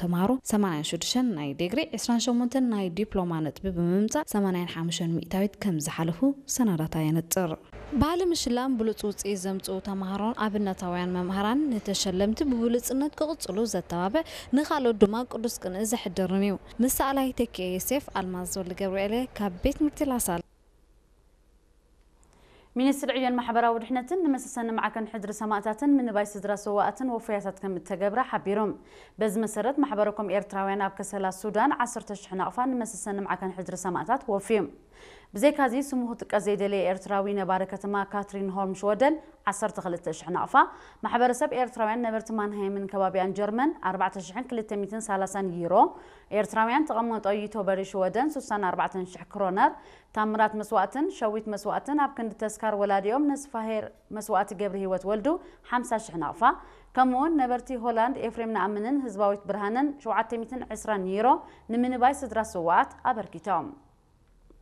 ተምሃሮ ሰማንያን ሽዱሽተን ናይ ዲግሪ፣ ዕስራን ሸሞንተን ናይ ዲፕሎማ ነጥቢ ብምምጻእ ሰማንያን ሓሙሽተን ሚእታዊት ከም ዝሓለፉ ሰነዳት የነጽር። ባህሊ ምሽላም ብሉጽ ውጽኢት ዘምጽኡ ተምሃሮን ኣብነታውያን መምሃራን ንተሸለምቲ ብብሉጽነት ክቕጽሉ ዘተባብዕ፣ ንኻልኦት ድማ ቅዱስ ቅንኢ ዘሕድርን እዩ። ምስ ሰኣላይ ተኪኤ ዮሴፍ፣ ኣልማዝ ወልደገብርኤል ካብ ቤት ትምህርቲ ላሳል። ሚኒስትሪ ዕዮን ማሕበራዊ ድሕነትን ንመሰሰኒ ማዕከን ሕድሪ ሰማእታትን ምንባይ ስድራ ስዋኣትን ወፈያታት ከም እተገብረ ሓቢሮም። በዚ መሰረት ማሕበረኮም ኤርትራውያን ኣብ ከሰላ ሱዳን ዓሰርተ ሽሕ ናቕፋ ንመሰሰኒ ማዕከን ሕድሪ ሰማእታት ወፍዮም። ብዘይካዚ ስሙ ክጥቀስ ዘይደለየ ኤርትራዊ ነባሪ ከተማ ካትሪን ሆልም ሽወደን ዓሰርተ ክልተ ሽሕ ናቕፋ፣ ማሕበረሰብ ኤርትራውያን ነበርቲ ማንሃይምን ከባቢኣን ጀርመን ኣርባዕተ ሽሕን ክልተ ሚእትን ሰላሳን ዩሮ፣ ኤርትራውያን ተቐመጦ ዩቶበሪ ሽወደን ስሳን ኣርባዕተን ሽሕ ክሮነር፣ ታምራት መስዋእትን ሸዊት መስዋእትን ኣብ ክንዲ ተስካር ወላዲኦም ነስፋሄር መስዋእቲ ገብረ ህይወት ወልዱ ሓምሳ ሽሕ ናቕፋ፣ ከምኡውን ነበርቲ ሆላንድ ኤፍሬም ነኣምንን ህዝባዊት ብርሃንን ሸውዓተ ሚእትን ዕስራን ዩሮ ንምንባይ ስድራ ስዋኣት ኣበርኪቶም።